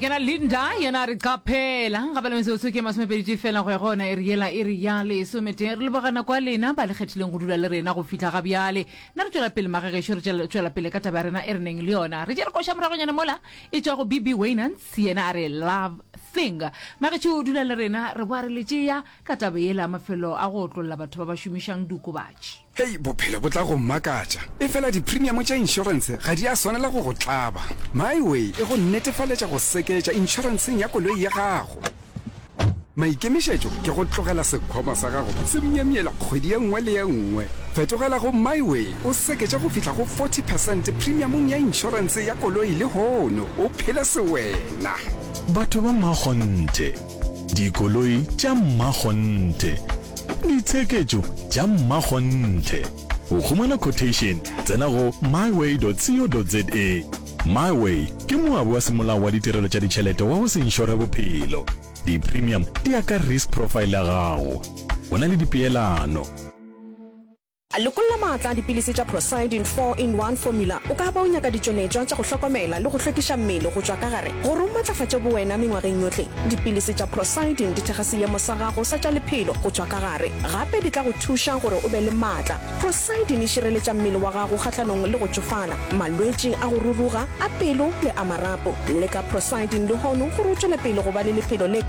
Kena Linda yena a re qaphela gape le metsotso ke masomepedi fela go ya go yona iri yela iri ya lesometee. Re leboga nako ya lena ba le kgethileng go dula le rena go fihla ga bjale. Nna re tšwela pele magagešo re tšwela pele ka taba ya rena e re neng le yona. Re tšere koša moragonyana mola e tšwa go BB Waynants yena a re Love Thing. Magešo dula le rena re boa re le tšea ka taba yela ya mafelo a go otlolla batho ba ba šomišang diokobatši. Hei, bophelo bo tla go makatša. Efela dipremiamo tša inšorense ga di a swanela go go tlaba. MiWay e go netefaletša go seketša inšorenseng ya koloi ya gago. Maikemišetšo ke go tlogela sekhwama sa gago se myemyela kgwedi ye nngwe le ye nngwe. Fetogela go MiWay o seketše go fihla go 40 percent premiamong ya inšorense ya koloi lehono o phele sewena. Batho ba mmakgonthe. Dikoloi tša mmakgonthe. Ditsheketšo tša mmakgonthe. Go humana quotation, tsena go myway.co.za. MyWay ke moabi wa semolao wa ditirelo tša ditšhelete wa go se inšore bophelo. Di-premium di ya ka risk profile ya gago. Go na le dipeelano. Lokolla maatla a dipilisi tša Procyldin 4-in-1 Formula. O ka ba o nyaka ditšweletšwa tša go hlokomela le go hlwekiša mmele go tšwa ka gare gore o matlafatše bowena mengwageng yohle. Dipilisi tša Procyldin di thekga seemo sa gago sa tša lephelo go tšwa ka gare. Gape di tla go thuša gore o be le maatla. Procyldin e šireletša mmele wa gago kgahlanong le go tšofala, malwetši a go ruruga, a pelo le a marapo. Leka Procyldin lehono gore o tšwele pele go ba le lephelo le.